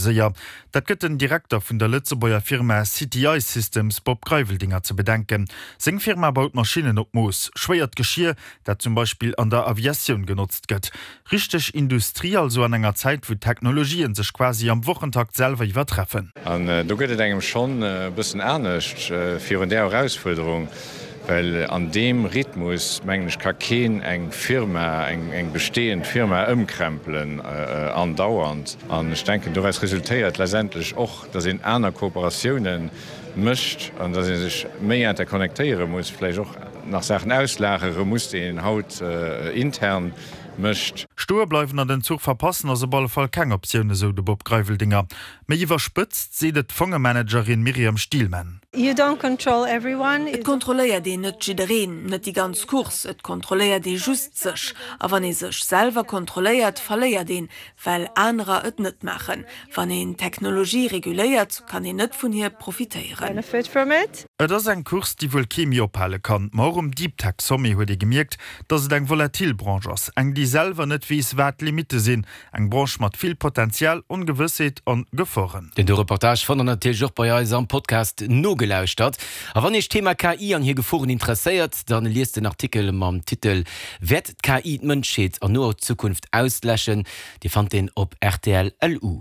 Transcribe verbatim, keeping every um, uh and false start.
Séier. Dat gëtt den Direkter vun der Lëtzebuerger Firma CTI Systems Bob Greiveldinger ze bedenken. Seng Firma baut Maschinnen op Mooss, schwéiert Geschier, dat zum Beispill an der Aviatioun genotzt gëtt. Richteg Industrie also an enger Zäit, wou d'Technologien sech quasi am Wochentakt selwer iwwertreffen. An do gëtt et engem schonn e bëssen anescht virun där Erausfuerderung, well an deem Rhythmus, mengen ech, ka keen eng Firma, eng bestehend Firma ëmkrempelen andauernd. An ech denken, doraus resultéiert letztendlech och, datt een aner Kooperatioune mécht an datt ee sech méi interconnectéiere muss, vläicht och nach Saachen auslagere muss, déi een haut intern mécht. Stoe bleiwen an den Zuch verpassen ass op alle Fall keng Optioun, esou de Bob Greiveldinger. Méi iwwerspëtzt seet et d'Fongemanagerin Myriam Stielman. You don't control everyone. Et kontrolléiert een net jiddereen, net déi ganz Course, et kontrolléiert ee just sech. A wann ee sech selwer kontrolléiert, verléiert een, well anerer et net maachen. Wann een Technologie reguléiert, kann een net vun hir profitéieren. Benefit from it. Et ass eng Course, déi wuel kee méi ophale kann. Ma och um Deep Tech Sommet huet ee gemierkt, datt et eng volatil Branche ass, eng déi selwer net weess, wat d'Limitte sinn. Eng Branche mat vill Potenzial, Ongewëssheet an Geforen. Den do Reportage fannt der natierlech och bei eis am Podcast nogelauschtert. A wann iech d'Thema K I an hir Geforen interesséiert, dann liest den Artikel mam Titel Wäert d'K I d'Mënschheet an noer Zukunft ausläschen? Dir fannt deen op R T L L U.